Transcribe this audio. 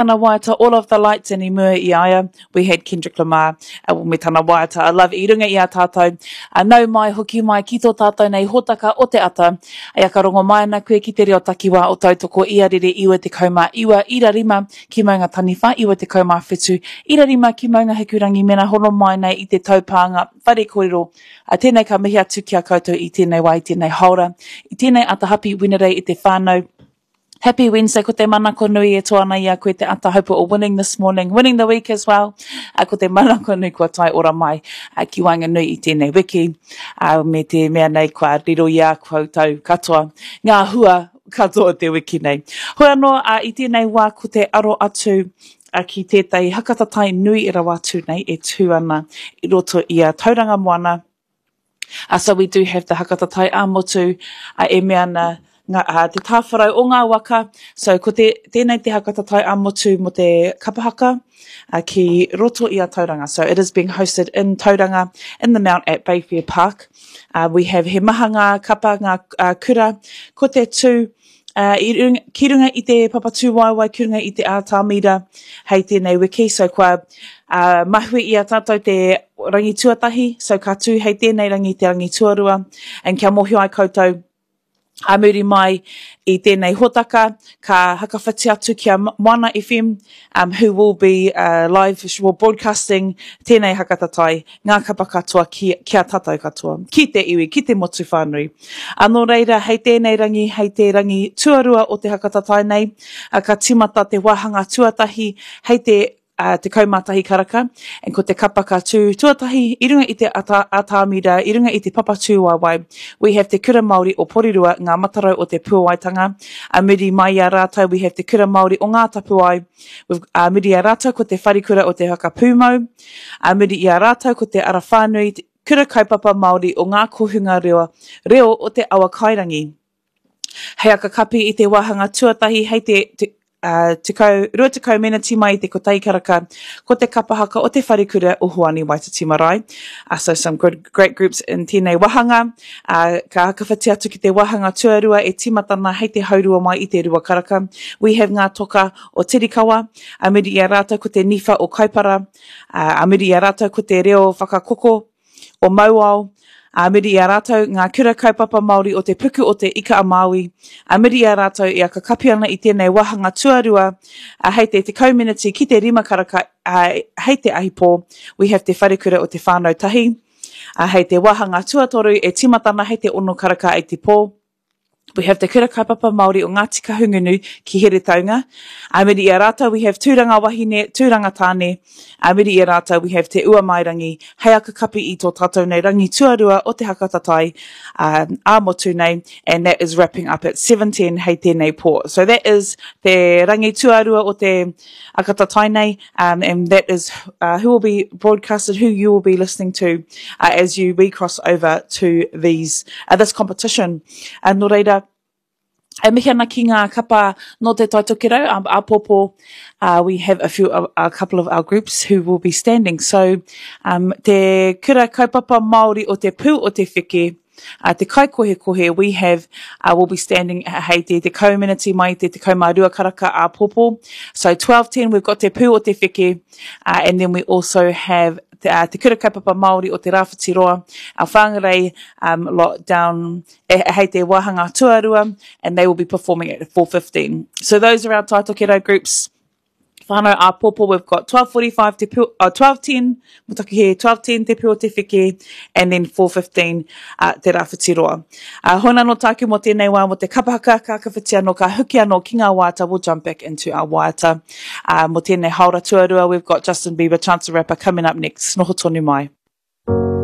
Tana waiata All of the Lights and i mua i a ia, we had Kendrick Lamar me tana waiata I Love i runga i a tātou. Nau mai, hoki mai ki tō tātou nei hōtaka o te ata. E aka rongo mai ana koe ki te reo takiwā o Tautoko i a Rere 99 ira 5 ki Maunga Taniwha 97 ira 5 ki Maunga Hikurangi mena hono mai nei i te taupānga whare kōrero. Tēnei ka mihi atu ki a koutou i tēnei wā i tēnei haora, i tēnei ata happy Wenerei e te whānau. Happy Wednesday, ko te manako nui e toa ana i a koe te ata hope o winning this morning, winning the week as well. Uh, ko te manako nui kua tae ora mai uh, ki waenganui i tēnei wiki, uh, me te mea nei kua riro i a koutou katoa ngā hua katoa o te wiki nei. Hoi anō, uh, i tēnei wā ko te aro atu uh, ki tētahi hakatatai nui rawa atu nei e tū ana i roto i a Tauranga Moana, Uh, so we do have the hakatatai ā-motu uh, e mea ana ngā, uh, te tāwharau o ngā waka. So ko te, tēnei te hakatatai ā-motu mō te kapa haka uh, ki roto i a Tauranga. So it is being hosted in Tauranga in the Mount at Bayfair Park. Uh, we have he maha ngā kapa, ngā uh, kura, ko te tū, uh, i runga, ki runga i te papatūwaewae, ki runga i te ātamira hei tēnei wiki. So kua uh, mahue i a tātou te rangi tuatahi, so ka tū hei tēnei rangi te rangi tuarua. And kia mōhio ai koutou, a muri mai i tēnei hōtaka, ka hakawhiti atu ki a Moana FM, um, who will be uh, live well, broadcasting tēnei hakatatai, ngā kapa katoa ki, ki a tātou katoa, ki te iwi, ki te motu whānui. A nō reira, hei tēnei rangi, hei te rangi tuarua o te hakatatai nei, a, ka tīmata te wāhanga tuatahi hei te uh, 11 karaka, and ko te kapa ka tū tuatahi i runga i te ata, atāmira, i runga i te papa tūwaewae. We have Te Kura Māori o Porirua, ngā matarau o te Puawaitanga. A muri mai i a rātou, we have Te Kura Māori o Ngā Tapuae. We've, a muri i a rātou ko te Wharekura o Te Whakapūmau. A muri i a rātou ko te Ara Whānui, Kura Kaupapa Māori o Ngā Kohunga Reo, Reo o Te Awakairangi. Hei aka kapi i te wāhanga tuatahi hei te, te uh, tekau, 20 meneti mai i te kotahi karaka, ko te kapa haka o te wharekura o Hoani Waititi Marae. Uh, so some good, great groups in tēnei wāhanga. Uh, ka hakawhiti atu ki te wāhanga tuarua e tīmatana hei te haurua mai i te rua karaka. We have ngā toka o Tirikawa, a muri i a rātou ko te niwha o Kaipara, a muri i a rātou ko te reo whakakoko o Mauao, a muri i a rātou ngā kura kaupapa Māori o te puku o te Ika-a-Māui, a muri i a rātou e akakapi ana i tēnei wāhanga tuarua, a hei te 10 meneti ki te rima karaka, a hei te ahipō, we have te wharekura o te whānau tahi, a hei te wāhanga tuatoru e tīmata ana hei te ono karaka i te pō. We have te Kura Kaupapa Māori o Ngāti Kahungunu ki Heretaunga. A muri i a rātou we have Tūranga Wahine, Tūranga Tāne. A muri i a rātou we have Te Uamairangi hei aka kapi i tō tātou nei rangi tuarua o te haka tatai ā-motu nei and that is wrapping up at 7:10 hei tēnei pō. So that is te rangi tuarua o te aka tatai nei um, and that is uh, who will be broadcasted, who you will be listening to uh, as you we cross over to these uh, this competition. Uh, nō reira, e mihi ana ki ngā kapa nō te Tai Tokerau, um, āpōpō, uh, we have a few, a, a couple of our groups who will be standing. So, um, te kura kaupapa Māori o te pū o te wheke, Uh, te kaikohekohe, we have, uh, will be standing hei te tekau meneti mai te 12 karaka āpōpō. So 12.10, we've got te pū o te wheke, uh, and then we also have te, uh, te kura kaupapa Māori o te Rāwhiti Roa, our Whangarei um, lot down e, hei te wāhanga tuarua, and they will be performing at 4.15. So those are our Tai Tokerau groups. Whānau āpōpō, we've got 12.45 te pū, uh, 12.10, mo taku he, 12.10 te pū o te wheke, and then 4.15 uh, te Rāwhiti Roa. Uh, hona no tāku mō tēnei wā mō te kapa haka, ka kawhiti anō, ka huki anō ki ngā waiata, we'll jump back into our waiata. Uh, mō tēnei haora tuarua, we've got Justin Bieber, Chance the Rapper coming up next. Noho tonu mai.